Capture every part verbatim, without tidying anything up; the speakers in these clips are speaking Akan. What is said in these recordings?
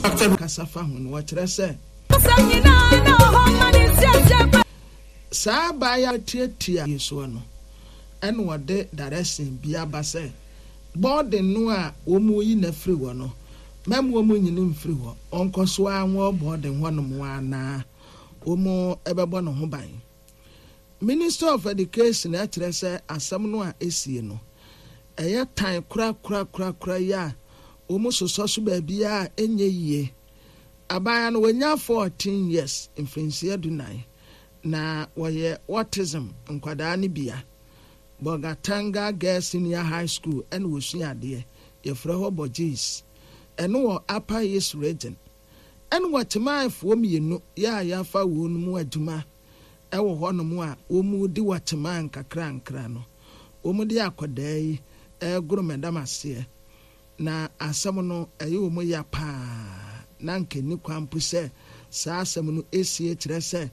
Kasa fa ho no, wɔkyerɛ sɛ saa abaayewa tiatia yi soɔ no, ɛna wɔde direction bi aba sɛ boarding no a wɔn yi na firi hɔ no, mɛmu wɔn nyini mfiri hɔ, ɔnkɔ so a wɔn boarding hɔ nom anaa wɔn ɛbɛbɔ ne ho ban. Minister of Education ɛkyerɛ sɛ asɛm no a esie no, ɛyɛ tan korakorakorakora yi a wɔn sosɔ so baabi a ɛnyɛ yie. Abaayewa no wɔnya fourteen years, mfirinhyia dunan, na wɔyɛ autism nkwadaa no bia. Bolgatanga Girls Senior High School ɛna wɔsua adeɛ, yɛfrɛ hɔ Bɔgyees, ɛno wɔ Upper East Region. Ɛna wɔkyemaafoɔ mmienu yɛ a yɛafa wɔn mu adwuma ɛwɔ hɔnom a wɔn di wɔkyemaa nkakrankra no, wɔn de akwadaa yi ɛregoro mɛdam aseɛ, na asɛm no ɛyɛ wɔn ya paa, na nkani kwan po sɛ saa asɛm no esie. Kyerɛ sɛ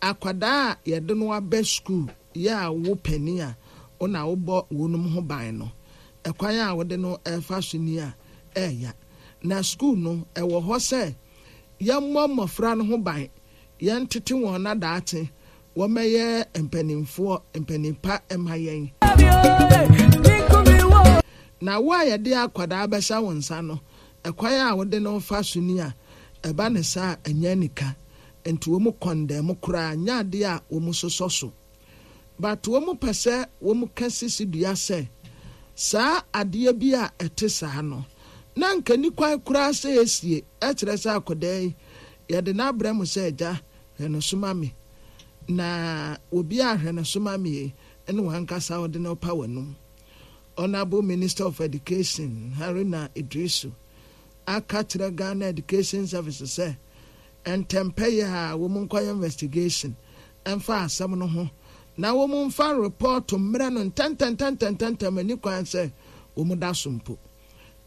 akwadaa a yɛde no aba sukuu yɛ a wo panin a ɔna wobɔ wɔn ho ban no, ɛkwan a wɔde no ɛfa so ni a ɛɛya. Na sukuu no ɛwɔ hɔ sɛ yɛmmɔ mmɔfra no ho ban, yɛntete wɔn nadaakye wɔmɛyɛ mpanimfoɔ, mpanimpa ɛma yɛn. Na wo a yɛde akwadaa bɛhyɛ wo nsa no, ɛkwan a wɔde no fa so ni a ɛba ne saa, ɛnyɛ nika. Nti wɔn kɔndɛm koraa nyɛ adeɛ a wɔn sosɔ so, but wɔn pɛ sɛ wɔn ka sisi dua sɛ saa adeɛ bi a ɛte saa no na nka ni kwan koraa sɛ esie. Ɛkyerɛ sɛ akwadaa yi yɛde n'abrɛ mu sɛ, "Agya, hwɛ no so ma me," na obi a hwɛ no so ma me yi, ɛne wɔn ankasa wɔde no pa wɔn. Honourable Minister of Education Haruna Idrisu aka kyerɛ Ghana Education Service sɛ ntɛmpɛ yɛ a wɔn nkɔyɛ investigation ɛmfa asɛm no ho na wɔn mfa report mmerɛ no ntɛntɛntɛntɛntɛntɛm. Ani kwan sɛ wɔn da so mpo.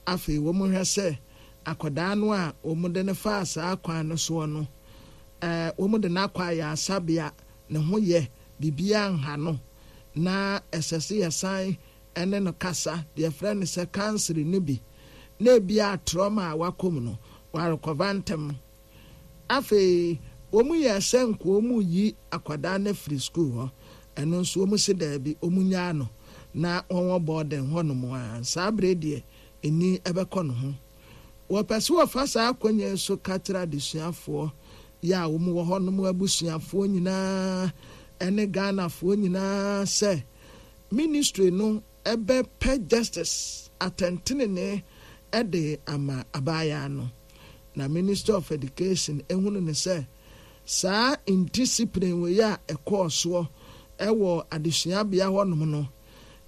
Afei wɔn hwɛ sɛ akwadaa no a wɔn de no faa saa kwan no soɔ no, ɛɛ wɔn de no akɔ ayaresabea, ne ho yɛ, biribiara nha no, na ɛsɛ sɛ yɛsan ɛne no kasa deɛ yɛfrɛ no sɛ counselling no bi, na ebi a trauma a wakɔ mu no warekɔva ntɛm. Afei wɔn yɛ sɛ nka wɔn yi akwadaa no afiri sukuu hɔ, ɛno nso wɔn si daabi, wɔn nyaa no na wɔn wɔ boarding hɔnom a saa abere deɛ ani ɛbɛkɔ ne ho. Wɔpɛ sɛ wɔfa saa akonnwa yi so ka kyerɛ adesuafoɔ yɛ a wɔn wɔ hɔnom, abusuafoɔ nyinaa ɛne Ghanafoɔ nyinaa sɛ ministry no ɛbɛpɛ justice, atɛntenene, ɛde ama abaayewa no. Na Minister of Education ehunu ne sɛ saa indiscipline wei a ɛkɔɔ soɔ ɛwɔ adesuabea hɔnom no,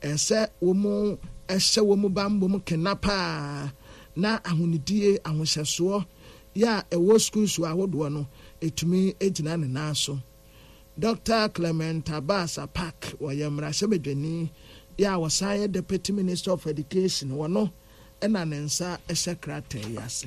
ɛsɛ wɔn ɛhyɛ wɔn bambom kena paa, na ahonidie ahohyɛsoɔ yɛ a ɛwɔ schools ahodoɔ no etumi egyina ne nan so. Doctor Clement Abbas Apaak, wɔyɛ mmarahyɛbadwani yɛ a wɔsan yɛ Deputy Minister of Education, wɔno ɛna ne nsa ɛhyɛ krataa yi ase.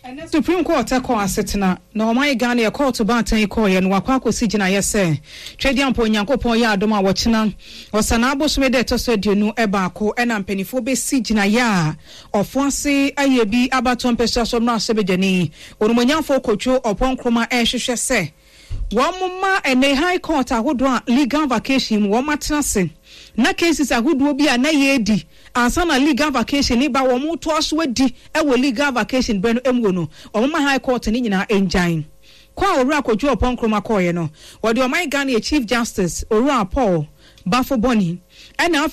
Ɛnɛ Supreme Court kɔ asetena na ɔman Ghana yɛ court baatan yi kɔɔyɛ no, wakɔ akɔsi gyinaeɛ sɛ Twɛdeɛ mpo Onyankopɔn yɛ adom a wɔkyena ɔsanaa bosome dɛ ɛtɔ so aduonu baako ɛna mpanimfoɔ bɛsi gyinaeɛ a ɔfo ase ayɛ bi abatɔ mpɛsua so mmarahyɛbadwani Onumonyamfoɔ Kojo Oppong Nkrumah ɛrehwehwɛ sɛ wɔn ma ɛnɛ High Court ahodoɔ a legal vacation mu wɔn atena ase na cases ahodoɔ bi a na yɛredi ansa na legal vacation ne ba, wɔn to so adi ɛwɔ legal vacation bɛn no mu no, wɔn ma High Court ne nyinaa ngyan kɔ a Owura Kojo Oppong Nkrumah kɔɔeɛ no, wɔde ɔman Ghana yɛ Chief Justice Owura Paul Baffoe Bonnie ɛna afei